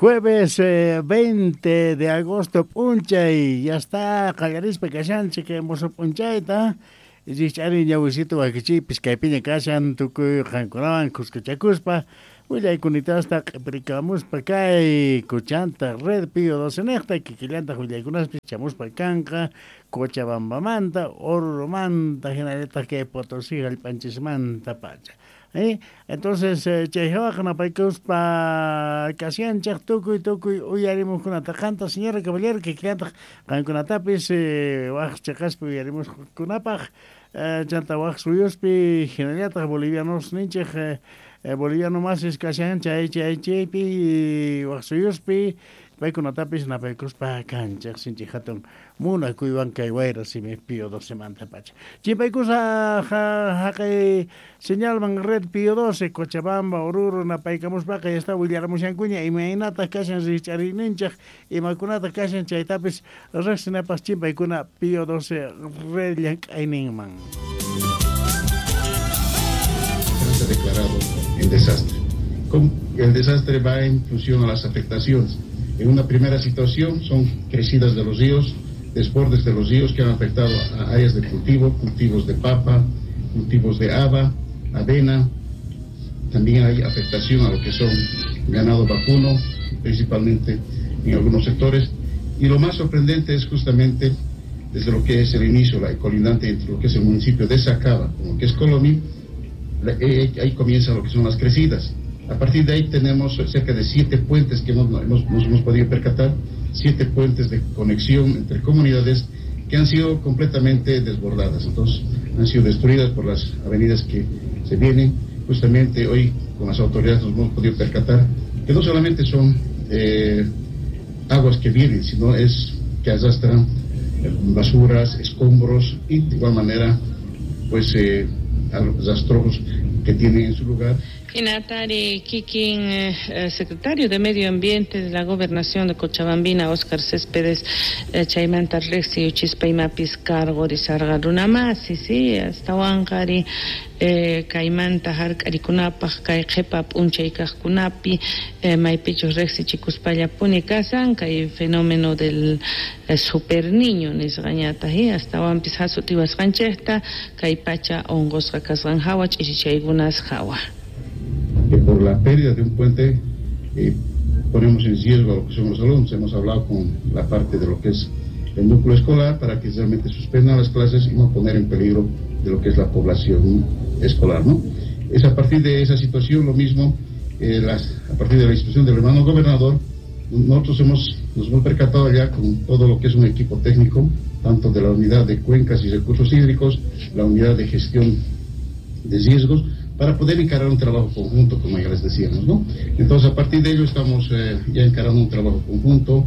Jueves 20 de agosto p'unchay, ya está qallarispa kashanchik musuq p'unchayta. Rikch'ari ñawisito wakichiypis kaypiña kashan tukuy qankunawan khuskachakuspa willaykunitasta q'ipirikamuspa kay kuchanta Red Pío 12 niqta kikillantaq willaykunaspis chamuspa kanqa Cochabambamanta, Oruromanta, hinallataq kay Potosí hallp'anchismanta pacha. Entonces chay hawaqa napaykuspa kashanchik tukuy tukuy uyarimuqkunata qanta señora caballero kikillantaq qankunatapis waq cheqaspi uyarimuqkunapaq chanta waq suyuspi hinallataq bolivianos ninchik boliviano masis kashan chay chay chaypi waq suyuspi paykunatapis napaykuspa kanchik sinchi hatun munakuywan kay wayra simi Pío 12 manta pacha. Chimpaykusa haqay señalman Red Pío 12 Cochabamba, Oruro napaykamuspaqa ya está willaramushankuña imaynataq kashan rikch'ariyninchik imakunataq kashan chaytapis riqsinapas chimpaykuna Pío 12 Red llank'ayninman. Se ha declarado en desastre. El desastre va en función a las afectaciones. En una primera situación son crecidas de los ríos, desbordes de los ríos que han afectado a áreas de cultivo, cultivos de papa, cultivos de haba, avena. También hay afectación a lo que son ganado vacuno, principalmente en algunos sectores. Y lo más sorprendente es justamente desde lo que es el inicio, la colindante entre lo que es el municipio de Sacaba con lo que es Colomi, ahí comienza lo que son las crecidas. A partir de ahí tenemos cerca de 7 puentes que nos hemos podido percatar, 7 puentes de conexión entre comunidades que han sido completamente desbordadas. Entonces, han sido destruidas por las avenidas que se vienen. Justamente hoy con las autoridades nos hemos podido percatar que no solamente son aguas que vienen, sino es que arrastran basuras, escombros y de igual manera pues rastrojos que tienen en su lugar. Hinatari kikin secretario de Medio Ambiente de la Gobernación de Cochabambina, Óscar Céspedes, chaymanta riqsi uchispa imapis cargo risarqa runamasi, sí, astawanqari kaymanta hark'arikunapaq kay qhipa p'unchay kaqkunapi maypichus riqsichikuspallapuni kasan kay fenómeno del super niño nisqañataq, astawanpis hasutiwasqanchikta kay pacha unqusqa kasqan hawa ch'ichichaykunas hawa. Que por la pérdida de un puente ponemos en riesgo a lo que son los alumnos. Hemos hablado con la parte de lo que es el núcleo escolar para que realmente suspendan las clases y no poner en peligro de lo que es la población escolar, ¿no? Es a partir de esa situación lo mismo, a partir de la institución del hermano gobernador, nosotros nos hemos percatado ya con todo lo que es un equipo técnico, tanto de la unidad de cuencas y recursos hídricos, la unidad de gestión de riesgos, para poder encarar un trabajo conjunto, como ya les decíamos, ¿no? Entonces, a partir de ello estamos ya encarando un trabajo conjunto,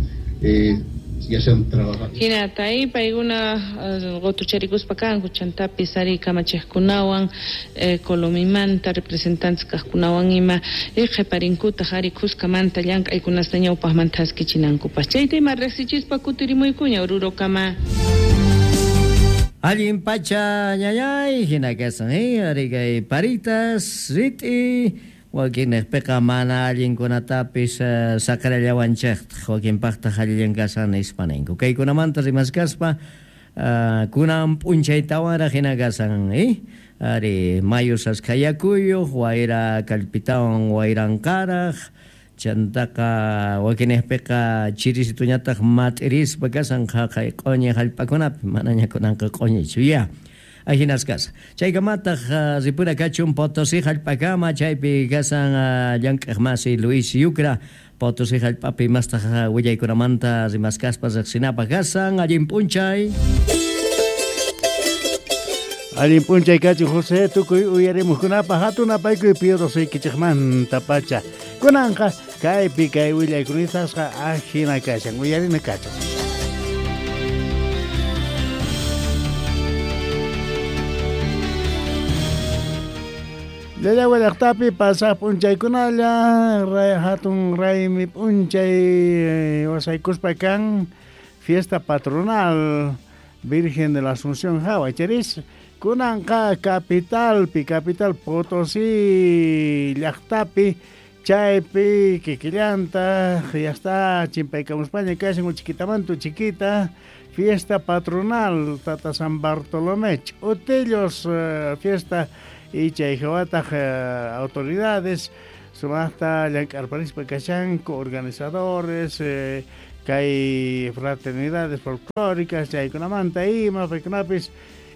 ya se han trabajado. Hinata, paykuna qotucharikuspa kanku, chantapis ari kamachejkunawan, Colomimanta, representantes kajkunawan ima, qhiparinkutaq ari khuskamanta llank'aykunasta ñawpaqmanta haskichinankupaq. Chayta ima riqsichispa kutirimuykuña Orurokama. Allin pacha ñañay, hina kasan, ari kay paritas, rit'i, wakinniqpiqa mana allinkunatapis saqrallawanchikta, wakinpaqtaq allillan kasan nispa ninku. Kaykunamanta rimaskaspa, kunan p'unchaytawanraq hina kasan, ari mayu saskayakuyuq, wayra kallpitawan wayranqaraq, chantaqa wakinniqpiqa chirisituñataq mat'irispa kasan qhaqay q'uñi hallp'akunapi, manaña kunanqa q'uñichu ya. Ahinas kasa. Chaykamataq ripura kachun Potosí hallp'akama, chaypi kasan llank'aq masi Luis Yucra, Potosí hallp'api mastaq willaykunamanta rimaskaspa riqsinapaq kasan. Allin p'unchay. Allin p'unchay kachun José, tukuy uyarimuqkunapaq hatun apaykuy Pío 12 kichikmanta pacha. Kunanqa kaypi kay willaykunisasqa ajina kashan, uyarina kachan. Llallagua llaqtapi pasaq p'unchaykunalla hatun raymi p'unchay wasaykuspa kan fiesta patronal Virgen de la Asunción hawa charis. Kunanqa capitalpi, capital Potosí llaqtapi Chaypi kikillanta ya está chimpaykamuspaña kashan uchikitamanta uchiquita fiesta patronal Tata San Bartolomé Ch'utillos fiesta y chay hawataq autoridades sumaqta llank'arparispa kashanku organizadores kay fraternidades folclóricas chaykunamanta ima paykunapis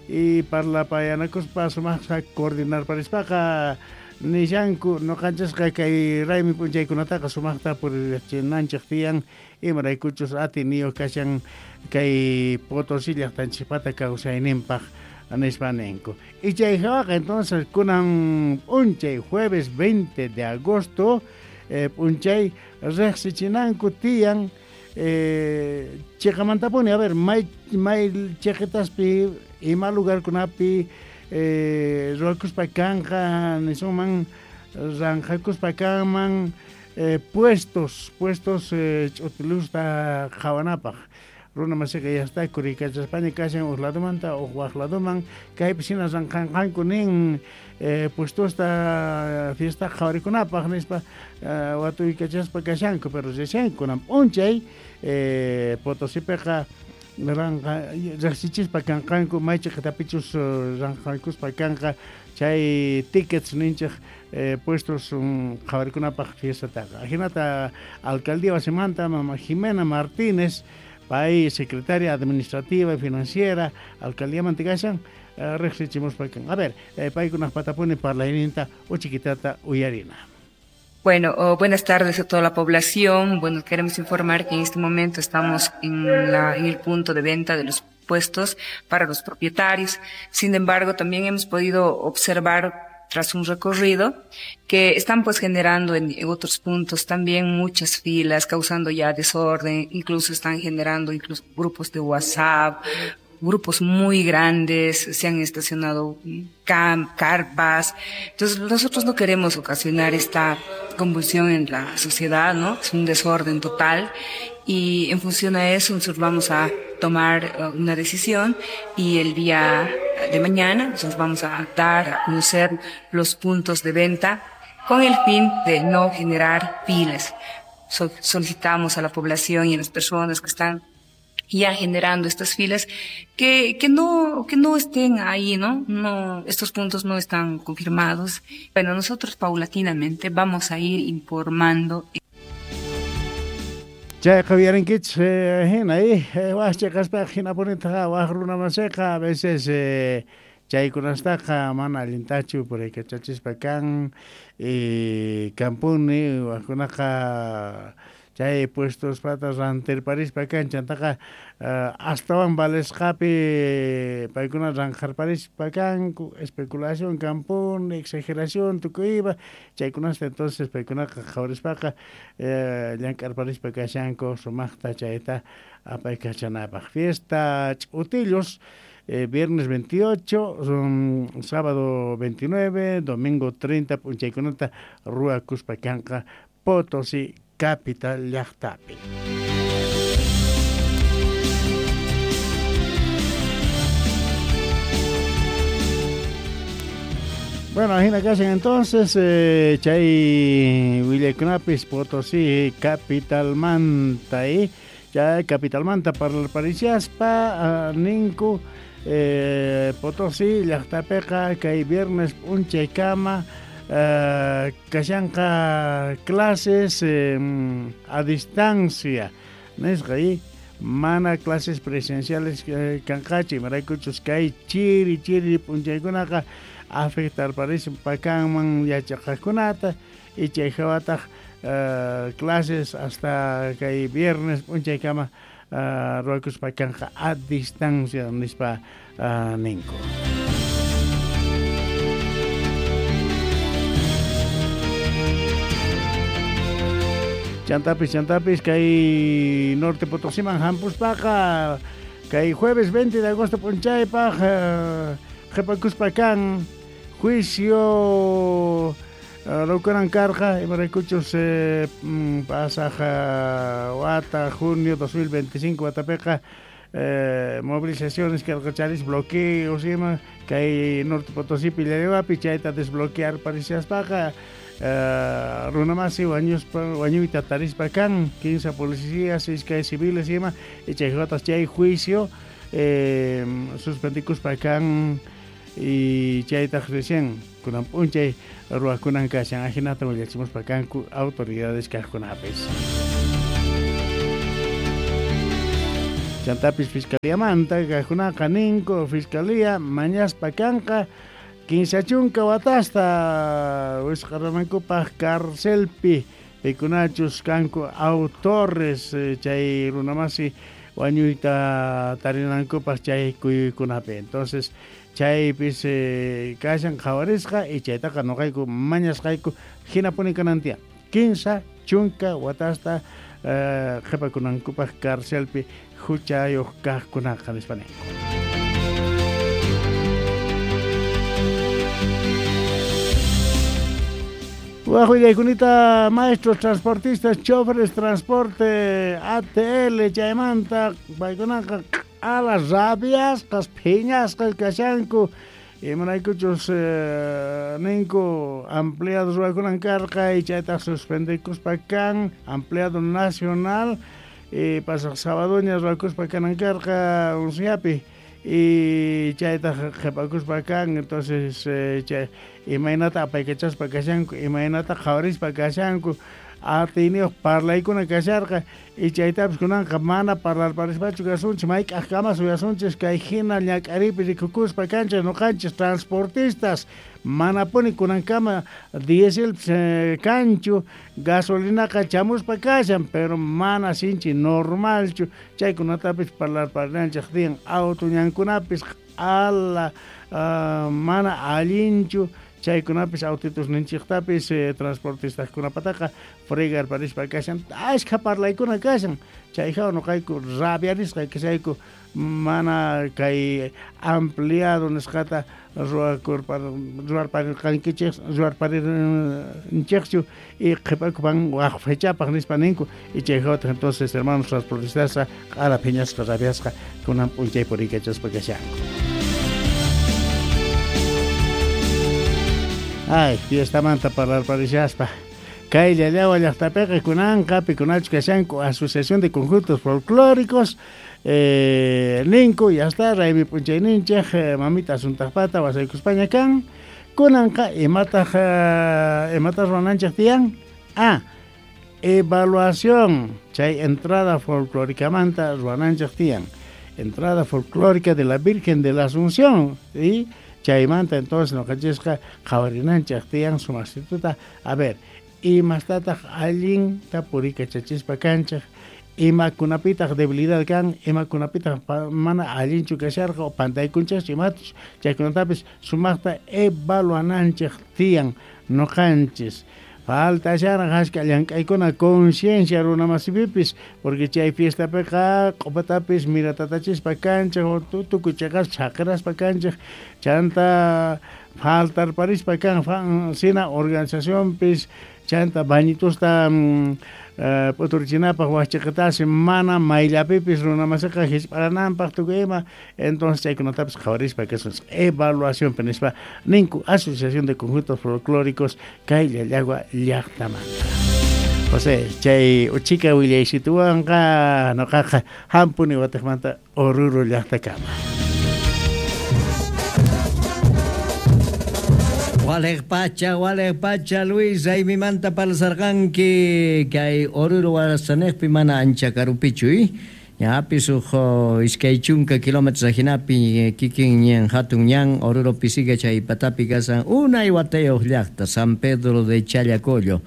y parlapayanakuspa sumaqta coordinarparispaqa nishanku noqanchasqa kay raymi p'unchaykunataqa sumaqta puririchinanchik tiyan imaraykuchus atiniyuq kashan kay Potosí llaqtanchikpata kawsayninpaq nispa ninku. Y chay hawaqa entonces kunan p'unchay jueves 20 de agosto p'unchay riqsichinanku tiyan chiqamantapuni a ver may chiqitaspi ima lugarkunapi ruwakuspa kanqa nisunman ranqakuspa kanman puestos ch'utilusta qhawanapaq runa masiqa ya está kurikachaspaña kashan uq ladomanta uq waq ladoman kaypi hina ranqanqanku nin puestosta fiesta qhawarikunapaq nispa watuykachaspa kashanku pero recién kunan p'unchay Potosipiqa ranqa riqsichispa kanqanku may chiqitapichus ranqankuspa kanqa chay tickets ninchik puestos qhawarikunapaq fiestataqa ajinata alcaldía wasimanta mama Jimena Martínez pay secretaria administrativa y financiera alcaldía kashan riqsichimuspa kan a ver paykunaq patapuni parlayninta uchiquitata uyarina. Bueno, buenas tardes a toda la población. Bueno, queremos informar que en este momento estamos en el punto de venta de los puestos para los propietarios. Sin embargo, también hemos podido observar tras un recorrido que están pues generando en otros puntos también muchas filas, causando ya desorden, incluso están generando incluso grupos de WhatsApp, grupos muy grandes, se han estacionado carpas. Entonces nosotros no queremos ocasionar esta convulsión en la sociedad, ¿no? Es un desorden total y en función a eso nosotros vamos a tomar una decisión y el día de mañana nosotros vamos a dar a conocer los puntos de venta con el fin de no generar filas. Solicitamos a la población y a las personas que están ya generando estas filas que no estén ahí, ¿no? No, estos puntos no están confirmados. Bueno, nosotros paulatinamente vamos a ir informando. Chayqa uyarinkichis hina waj chiqaspaqa hinapunitaqa waj runamasiqa a veces chaykunastaqa mana allintachu puraykachachispa kan kampuni wajkunaqa chay puestos pata rantirparispa kan chantaqa astawan valesqapi paykuna ranqarparispa kanku especulación kampuni exageración tukuy ima chaykunasta entonces paykunaqa qhawarispaqa llank'arparispa kashanku sumaqta chayta apaykachanapaq fiesta Ch'utillos viernes 28, sábado 29, domingo 30 p'unchaykunata ruwakuspa kanqa Potosí capital llaqtapi. Bueno, ajina kashan entonces chay willaykunapis Potosí capitalmanta chay capitalmanta parlarparishaspa ninku Potosí llaqtapiqa kay viernes p'unchaykama kashanqa clases a distancia nisqa y mana clases presenciales kanqachu imaraykuchus kay chiri chiri p'unchaykunaqa afectarparispa kanman yachaqaqkunata y chay hawataq clases hasta kay viernes p'unchaykama ruwakuspa kanqa a distancia nispa ninku. Chantapis kay Norte Potosiman hampuspaqa kay jueves 20 de agosto p'unchaypaq qhipakuspa kan juicio rukunan karqa imaraykuchus pasaq wata junio 2025 watapiqa movilizaciones karqacharis bloqueos ima kay Norte Potosí Pillariwapi chayta desbloquear parishaspaqa Runamasi wañuspa wañuyta tarispa kan 15 policías, iskay civiles ima, y chaywatas chay juicio suspendikuspa kan y chaytaq recién kunan p'unchay ruwakunan kashan ajinata willachimuspa kanku autoridades kaqkunapis. Chantapis fiscaliamanta kaqkunaqa ninku fiscalía mañaspa kanqa 15 chunka watasta wisq'aranankupaq carcelpi pikunachus kanku autores chay runamasi wañuyta tarinankupaq chay kuyuykunapi. Entonces chaypis kashan qhawarisqa y chaytaqa noqayku mañasqayku hinapuni kanan tiyan 15 chunka watasta qhipakunankupaq carcelpi huchayuq kaqkunaqa nispa ninku. Wajuyaykunita maestros transportistas, choferes transporte ATL chaymanta paykunaqa q'ala rabiasqas phiñasqas kashanku imaraykuchus ninku ampliado ruwakunan karqa y chaytaq suspendikuspa kan ampliado nacional y pasaq sabadoña ruwakuspa kanan karqa unsiapi y chaytaq qhipakuspa kan. Entonces chay imaynata apaykachaspa kashanku imaynata qhawarispa kashanku atiyniyuq parlaykuna kasharqa y chaytapis kunanqa mana parlarparispachu kasunchis mayk'aqkama suyasunchis kay hina ñak'aripi rikukuspa kanchis noqanchis transportistas manapuni kunankama dieselpis kanchu gasolinaqa chamuspa kashan pero mana sinchi normalchu chaykunatapis parlarparinanchik tiyan auto ñankunapis q'ala mana allinchu chaykunapis autitos ninchiqtapis transportistaskunapataqa fregarparispa kashan ashkha parlaykuna kashan chayhaw noqayku rabiarisqa kashayku mana kay ampliado nisqata ruwarparirqankichik ruwarparinchikchu y qhipakupan waq fechapaq nispa ninku y chayhawtaq entonces hermanos transportistasqa q'ala phiñasqa rabiasqa kunan p'unchay puriykachaspa kashanku. Ay, fiestamanta parlarparishaspa. Kay Llallawa llaqtapiqa kunanqa pikunachu kashanku Asociación de Conjuntos Folclóricos ninku ya está raymi p'unchayninchik mamita asuntaqpata wasaykuspaña kan kunanqa imataq imataq ruwananchik tiyan evaluación chay entrada folclóricamanta ruwananchik tiyan entrada folclórica de la Virgen de la Asunción y chaymanta entonces noqanchisqa qhawarinanchik tiyan sumastituta a ver imastataq allinta purikachachispa kanchik imakunapitaq debilidad kan imakunapitaq mana allinchu kasharqa o pantaykunchikchu imatuch chaykunatapis sumaqta evaluananchik tiyan noqanchis falta sharan ashka llank'aykuna conciencia runamasipipis porque chay fiestapiqa q'upatapis miratatachispa kanchik tukuy chayqas chaqiraspa kanchik chanta faltarparispa kan sina organizacionpis chanta bañitusta p'uturichinapaq waqchiqitasi mana mayllapipis runamasiqa hisp'arananpaq tukuy ima entonces chaykunatapis qhawarispa kasunchik evaluacionpi nispa ninku Asociación de Conjuntos Folclóricos kay Llallagua llaqtamanta. José chay uchika willaysituwanqa noqaqa hampuni watiqmanta Oruro llaqtakama. Waleq pacha, Luis, raymimanta parlasarqanki kay Oruro warasanejpi mana ancha karupichu, ñapis uj iskay chunka kilómetros ajinapi kikin ñan hatun ñan Oruro pisiga chay patapi kasan unay watayuq llaqta San Pedro de Challacollo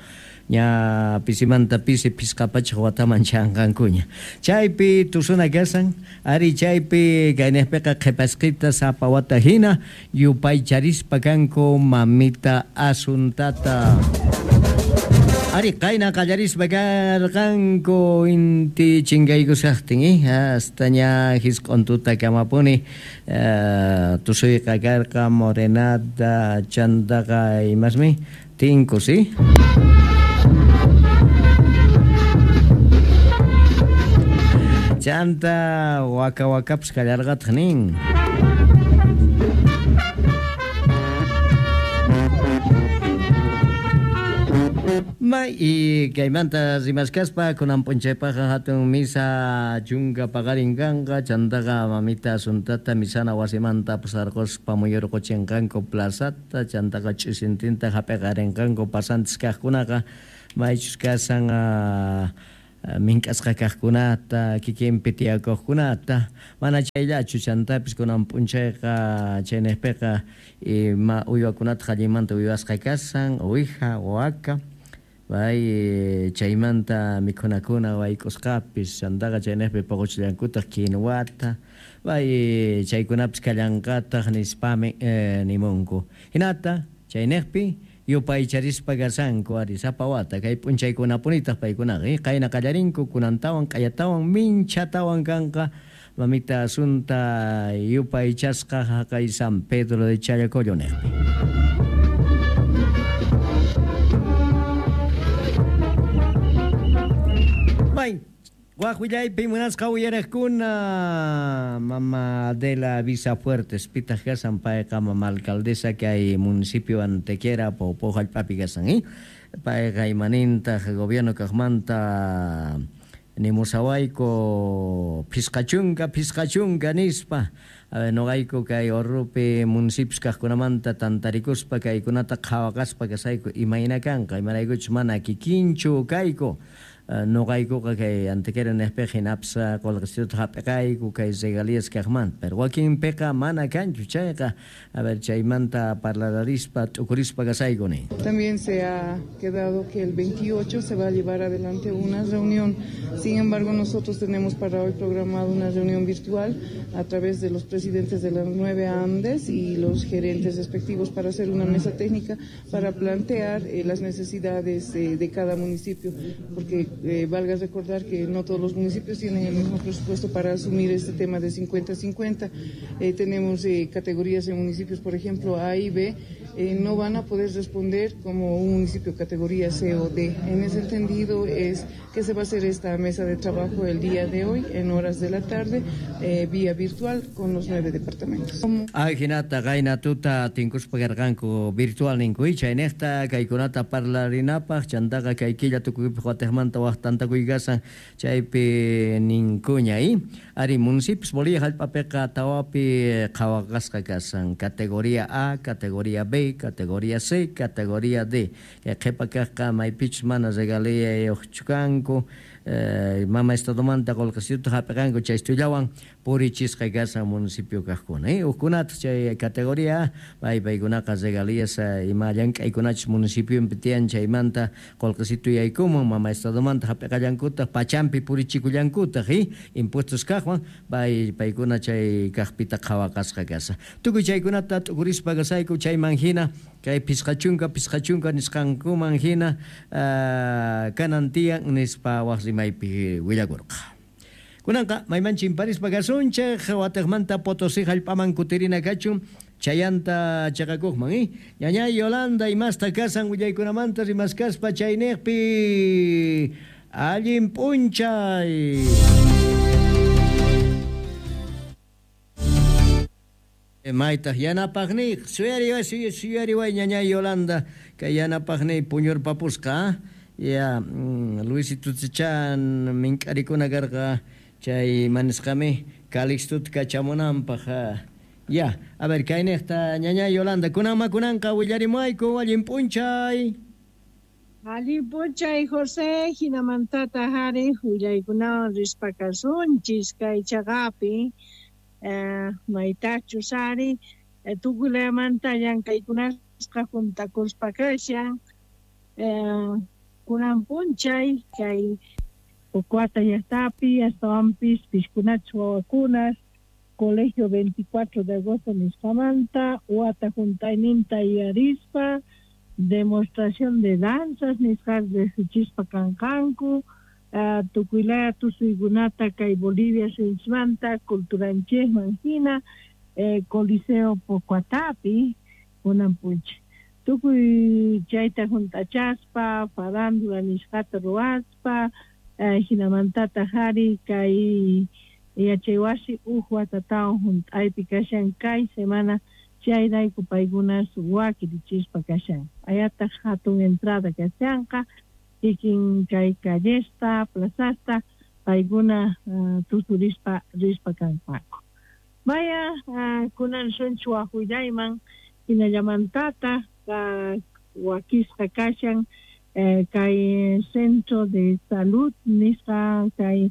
ña pisimanta pisi pisqapachaq wataman chanqankuña chaypi tusuna kasan ari chaypi kaynejpiqa qhipasqita sapa wata hina yupaycharispa kanku mamita Asuntata ari qayna qallarispa karqanku inti chinkaykusaqtin hasta ña hisq'untuta kamapuni tusuyqa karqa morenada chantaqa imasmi tinku si chanta waka wakapis kallarqataq nin. Y kaymanta rimaskaspa kunan p'unchaypaqqa hatun misa chunka paqarin kanqa chantaqa mamita Asuntata misana wasimanta apasarquspa muyurquchinqanku plazata chantaqa ch'isintinta hap'iqarinqanku pasantes kaqkunaqa maychus kasan mink'asqa kaqkunata kikinpi tiyakuqkunata mana chayllachu chantapis kunan p'unchayqa chayniqpiqa ima uywakunata allinmanta uywasqa kasan uwija waka pay chaymanta mikhunakuna wayk'usqapis chantaqa chayniqpi puquchillankutaq quinwata pay chaykunapis kallanqataq nispami nimunku hinata chayniqpi yupaycharispa kasanku ari sapa wata kay p'unchaykunapunitaq paykunaqa qayna qallarinku kunantawan q'ayatawan minchatawan kanqa mamita Asunta yupaychasqa haqay San Pedro de Challacollo niqpi. May waq willaypi munasqa uyariqkuna mama Adela Visafuertes pitaq kasan payqa mama alcaldesa kay municipio Antequera Poopó hallp'api kasan payqa imanintaq gobierno kaqmanta nimusawayku phisqa chunka nispa noqayku kay Orrupi municipios kaqkunamanta tantarikuspa kaykunata qhawaqaspa kasayku imayna kanqa imaraykuchus mana kikinchu kayku noqaykuqa kay Antequera niqpiqa hinapis qullqisituta hap'iqayku kay regalías kaqmanta pero wakinpiqa mana kanchu chayqa a ver chaymanta parlararispa t'ukurispa kasayku nin. También se ha quedado que el 28 se va a llevar adelante una reunión. Sin embargo, nosotros tenemos para hoy programado una reunión virtual a través de los presidentes de las 9 ANDES y los gerentes respectivos para hacer una mesa técnica para plantear las necesidades de cada municipio, porque valga recordar que no todos los municipios tienen el mismo presupuesto para asumir este tema de 50-50. Tenemos categorías en municipios, por ejemplo, A y B, no van a poder responder como un municipio categoría C o D. En ese entendido es que se va a hacer esta mesa de trabajo el día de hoy, en horas de la tarde, vía virtual con los 9 departamentos. Ay, hinata, qayna tuta tinkuspa karqanku virtual ninku, chayniqta kaykunata parlarinapaq, chantaqa kay killa tukuypaq watejmanta waq tantakuy kasan chaypi ninkuña, ari municipios Bolivia hallp'apiqa tawapi qhawaqasqa kasan categoría A, categoría B, categoría C, categoría D. Kay qhipa kaqqa maypichus mana regaliyayuqchu kanku, mama estadomanta qullqisituta hap'iqanku chaystullawan purichisqa kasan municipio kaqkuna. Hukkunataq chay categoría A, paykunaqa regalías ima llank'aykunachus municipiopi tiyan chaymanta qullqisitu yaykumun mama estadomanta hap'iqallankutaq pachampi purichikullankutaq impuestos kaqwan paykuna chay kaqpita qhawaqasqa kasa. Tukuy chaykunata t'ukurispa kasayku chayman hina kay phisqa chunka nisqankuman hina kanan tiyan nispa waq rimaypi willakurqa. Kunanqa mayman chimparispa kasunchik watejmanta Potosí hallp'aman kutirina kachun chayanta chaqakuqman ñañay Yolanda imasta kasan willaykunamanta rimaskaspa chayniqpi allin p'unchay. Maytaq yanapaqniy suyariway ñañay Yolanda kay yanapaqniy puñurpapusqa ya Luisito Chan mink'arikuna karqa chay manisqami Calixtuta kachamunanpaq ya a ver kayniqta ñañay Yolanda kunanma kunanqa willarimuayku allin p'unchay. Allin p'unchay José hinamantata hari willaykunawan rispa kasunchis kay chaqapi maytachus ari tukuylamanta llank'aykunasqa juntakuspa kashan kunan p'unchay kay Pocoata llaqtapi astawanpis piskunachus wawakunas Colegio 24 de agosto nisqamanta wata juntayninta yuyarispa demostración de danzas nisqa riqsichispa kanqanku tukuylaya tusuykunata kay Bolivia suyusmanta culturanchikman hina Coliseo Pocoatapi kunan p'unchay tukuy chayta junt'achaspa farándula nisqata ruwaspa hinamantataq ari kay yachaywasi uj watatawan junt'aypi kashan kay semana chayrayku paykunas wakirichispa kashan ayataq hatun entrada kashanqa kikin kay callesta, plazasta, paykuna tusurispa rispa kanqaku. Vaya, kunan sunchu wajullayman hinallamantata wakisqa kashan kay centro de salud nisqa kay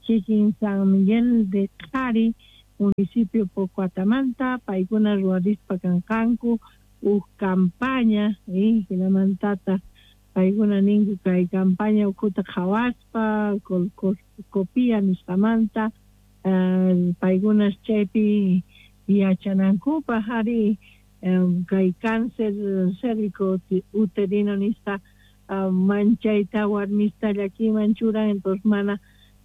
kikin San Miguel de Qhari municipio Pocoatamanta paykuna ruwarispa kanqanku uj campaña hinamantata paykuna ninku kay campaña ukhuta qhawaspa copia nisqamanta paykunas chaypi yachanankupaq ari kay cáncer cérvico uterino nisqa manchayta warmista llakiman churan entonces mana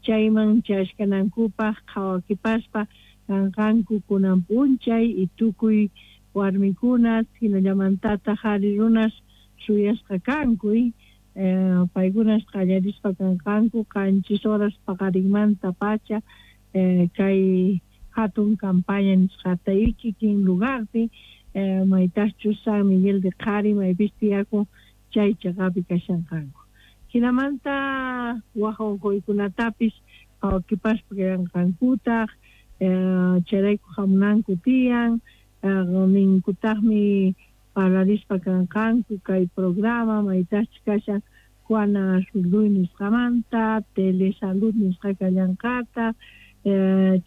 chayman chashkanankupaq qhawakipaspa kanqanku kunan p'unchay y tukuy warmikunas hinallamantata qhari runas suyasqa kanku paykunas qallarispa kanqanku 7 horas paqarinmanta pacha kay hatun campaña nisqata y kikin lugarpi maytaqchus San Miguel de Qhari maypis tiyakun chay chaqapi kashanqanku. Hinamanta waj unquykunatapis qhawakipaspa kallanqankutaq chayrayku hamunanku tiyan ninkutaqmi parlarispa kanqanku kay programa maytaqchus kashan Juana Azurduy nisqamanta telesalud nisqa kallanqataq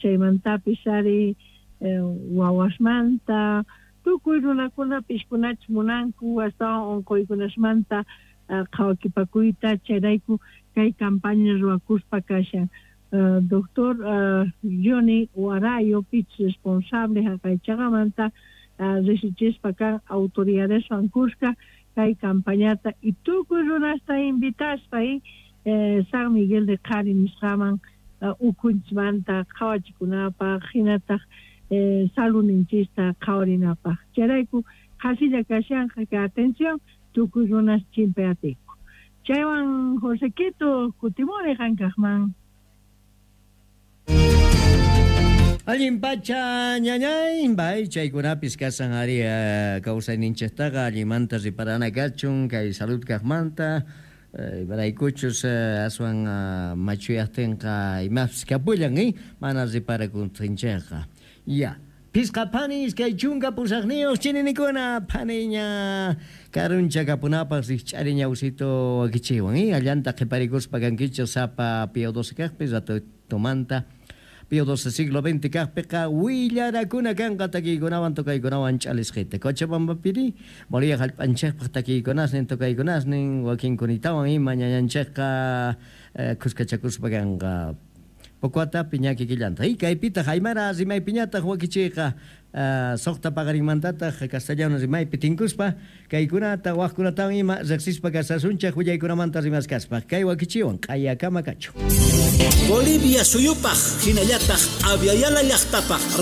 chaymantapis ari wawasmanta tukuy runakuna piskunachus munanku astawan unquykunasmanta qhawakipakuyta chayrayku kay campaña ruwakuspa kashan. Doctor Johnny Warayo pich responsable haqaychaqamanta risichispa kan autoridadeswan kuska kay campañata y tukuy runasta invitaspa San Miguel de Qhari nisqaman ukhunchismanta qhawachikunapaq hinataq saludninchista qhawarinapaq. Chayrayku qhasilla kashanqa kay atención tukuy runas chimpayatiku. Chaywan Josequito kutimuni qankaqman. Allin pacha ñañay bay chaykunapis kasan ari kawsayninchiktaqa allinmanta riparana kachun kay salud kaqmanta imaraykuchus aswan machuyaqtinqa imapis kapullan mana riparakuntinchikqa. Ya Pisqa phani 28 chininikuna phaniña karuncha kapunapaq rikch'ari ñawsito wakichiwan allanta qhiparikuspa kankichik sapa Pío 12 kaqpi ratutumanta Pío 12 siglo XX kaqpiqa willarakuna kanqa takiykunawan tocaykunawan ch'alisqita Cochabambapiri Bolivia hallp'anchikpaq takiykunasnin tocaykunasnin wakinkunitawan ima ñañanchikqa khuskachakuspa kanqa Pocoatapi ña kikillanta. Y kaypitaq aymara rimaypiñataq wakichiyqa suqta paqarinmantataq castellano rimaypi tinkuspa kaykunata waqkunatawan ima riqsispa kasasunchik willaykunamanta rimaskaspa kay wakichiwan q'ayakama kachu. Bolivia suyupaq hinallataq Aviala llaqtapaq.